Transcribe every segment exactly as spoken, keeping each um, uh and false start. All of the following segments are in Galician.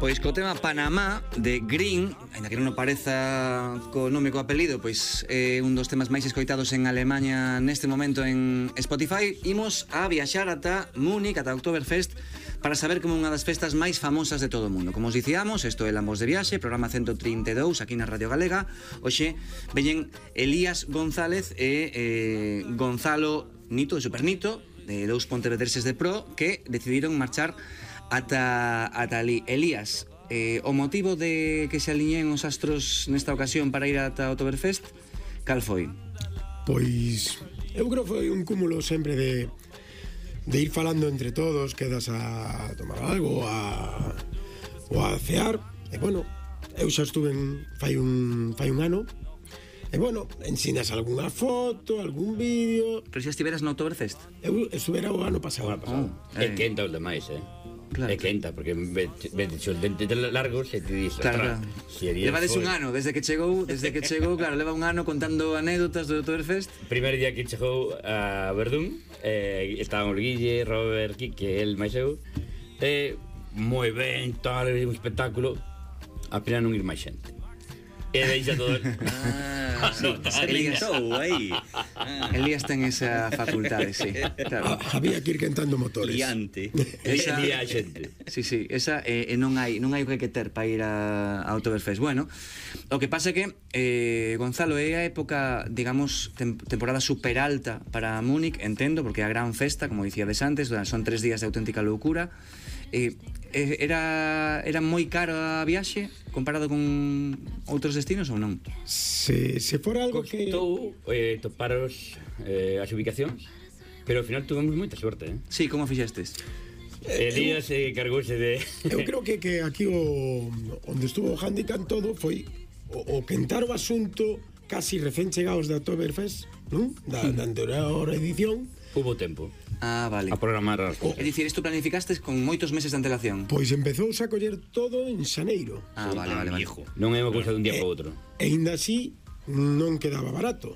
Pois co tema Panamá de Green, ainda que non nos pareza co nome co apelido, pois é un dos temas máis escoitados en Alemanha neste momento en Spotify. Imos a viaxar ata Múnich, ata Oktoberfest, para saber como unha das festas máis famosas de todo o mundo. Como os dicíamos, isto é Lambos de Viaxe, programa ciento trinta e dous aquí na Radio Galega. Hoxe veñen Elías González e eh, Gonzalo Nito, de Supernito, de dous pontevedreses de pro, que decidiron marchar ata, ata ali. Elías, eh, o motivo de que se alineen os astros nesta ocasión para ir ata Oktoberfest, cal foi? Pois eu creo que foi un cúmulo sempre de de ir falando entre todos, quedas a tomar algo, a ou a cear, e bueno, eu xa estuve en, fai un fai un ano. E bueno, ensinas algunha foto, algún vídeo. Pero xa estiveras no Oktoberfest? Eu estuvera o ano pasado. O ano pasado. Oh, é eh. quenta os demais, eh? Claro. É quenta, porque ves o dente largo se te dice. Claro, claro. Si levades un ano, desde que chegou, desde que chegou, claro, leva un ano contando anécdotas do Oktoberfest. Primeiro día que chegou a Verdún, eh, estaban o Guille, Robert, Quique, el máis eu, eh, moi ben, tal, un espectáculo. A pena non ir máis xente. E deixa todo. Ah, sí, Elías aí. Ah. Elías ten esa facultade, sí. Claro. Ah, había que ir quentando motores. Liante. Esa día xente. Sí, sí, esa e eh, non hai non hai o que hai que ter para ir a, a Oktoberfest. Bueno, o que pasa é que eh, Gonzalo, é a época, digamos, tem, temporada super alta para Múnich, entendo, porque é a gran festa, como dicíades antes, son tres días de auténtica loucura. Eh, era era moi caro a viaxe comparado con outros destinos ou non? Se, se fora algo que... Costou eh, toparos eh, as ubicacións, pero ao final tuvemos moita sorte, eh? Sí, como fixestes? Elías eh, cargouse de... Eu creo que, que aquí o onde estuvo o handicap todo foi o, o quentar o asunto casi recén chegados da Oktoberfest, non? Da, da anterior edición. Hubo tempo. Ah, vale. A programar as cousas. É dicir, isto planificastes con moitos meses de antelación. Pois empezou a coller todo en xaneiro. Ah, vale, vale, vale. Non é unha cousa dun día e, para outro. E ainda así non quedaba barato.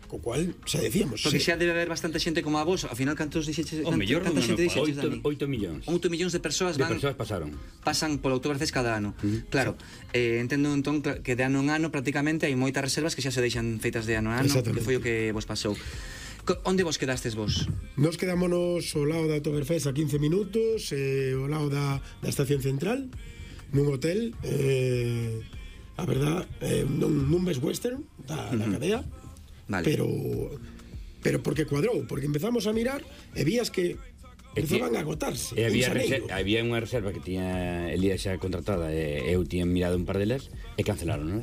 Co cual, xa decíamos, porque sí. xa debe haber bastante xente como a vos. Ao final, cantos dixeches? O mellor canta xente dixeches, Dani? oito millóns. oito millóns de persoas van... De persoas pasaron. Pasan polo Oktoberfest cada ano. Uh-huh. Claro, eh, entendo entón que de ano en ano prácticamente hai moitas reservas que xa se deixan feitas de ano en ano, que foi o que vos pasou. Onde vos quedastes vos? Nos quedámonos ao lado da Oktoberfest a quince minutos, eh, ao lado da, da estación central, nun hotel, eh, a verdad, eh, nun, nun Best Western da, da cadea, vale. pero pero porque cuadrou, porque empezamos a mirar e vías que empezaban a agotarse. E había, reser- había unha reserva que tiña Elías xa contratada e eu tiña mirado un par delas e cancelaron, non?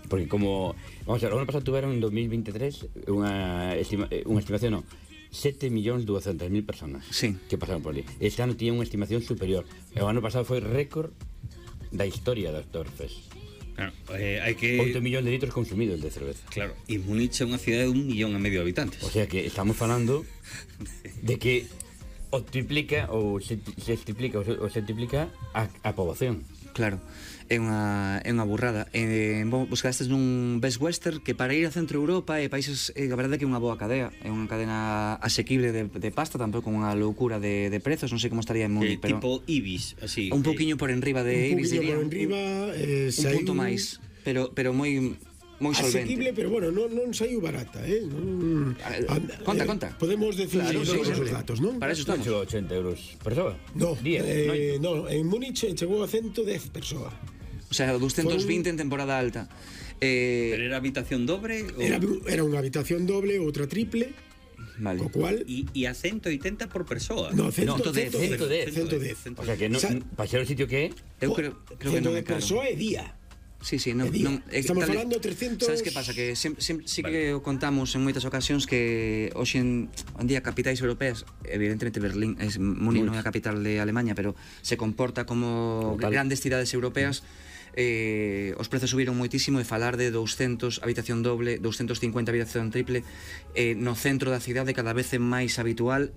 Porque como, vamos a ver, o ano pasado tuveron en dos mil veintitrés unha, estima, unha estimación, non, sete millóns duascentas mil personas, sí, que pasaron por ali. Este ano tiña unha estimación superior. E o ano pasado foi récord da historia da Oktoberfest. Claro, eh, hai que... oito millóns de litros consumidos de cerveza. Claro, e Múnich é unha cidade de un millón e medio de habitantes. O sea que estamos falando de que o triplica ou se, se triplica ou se, ou se triplica a, a poboación. Claro, é unha, é unha burrada. Eh, vos quedastes nun Best Western que para ir a Centro Europa e países, eh, a verdade é que é unha boa cadea. É unha cadena asequible de, de pasta, tampouco con unha loucura de, de prezos, non sei como estaría en Múnich, eh, pero... Tipo Ibis, así. Un pouquiño por enriba de Ibis, diría. Un pouquiño por enriba, eh, un punto máis, pero, pero moi... moi solvente. Asequible, pero bueno, non, non saiu barata, eh? Non, conta, eh, conta. Podemos decir claro, sí, todos sí, os datos, non? Para eso estamos. Chegou a ochenta euros persoa? No, diez, eh, no, en Múnich chegou a ciento dez persoa. O sea, doscientos vinte en temporada alta. Eh, Pero era habitación dobre? O... Era, era unha habitación doble, outra triple. Vale. Co cual... E, e a ciento oitenta por persoa. No, ciento dez. ciento dez. ciento dez. O sea que non, para ser o sitio que é... Eu creo, creo que non é caro. persoa é día. Sí, sí, non, non, estamos tal, falando trescentos... Sabes que pasa? Que sem, sem, sí que vale. O contamos en moitas ocasións que hoxe en, en día capitais europeas, evidentemente Berlín, es, Múnich non é a capital de Alemanha, pero se comporta como Total. Grandes cidades europeas. Eh, os prezos subiron moitísimo e falar de doscientos habitación doble, doscientos cincuenta habitación triple eh, no centro da cidade cada vez é máis habitual.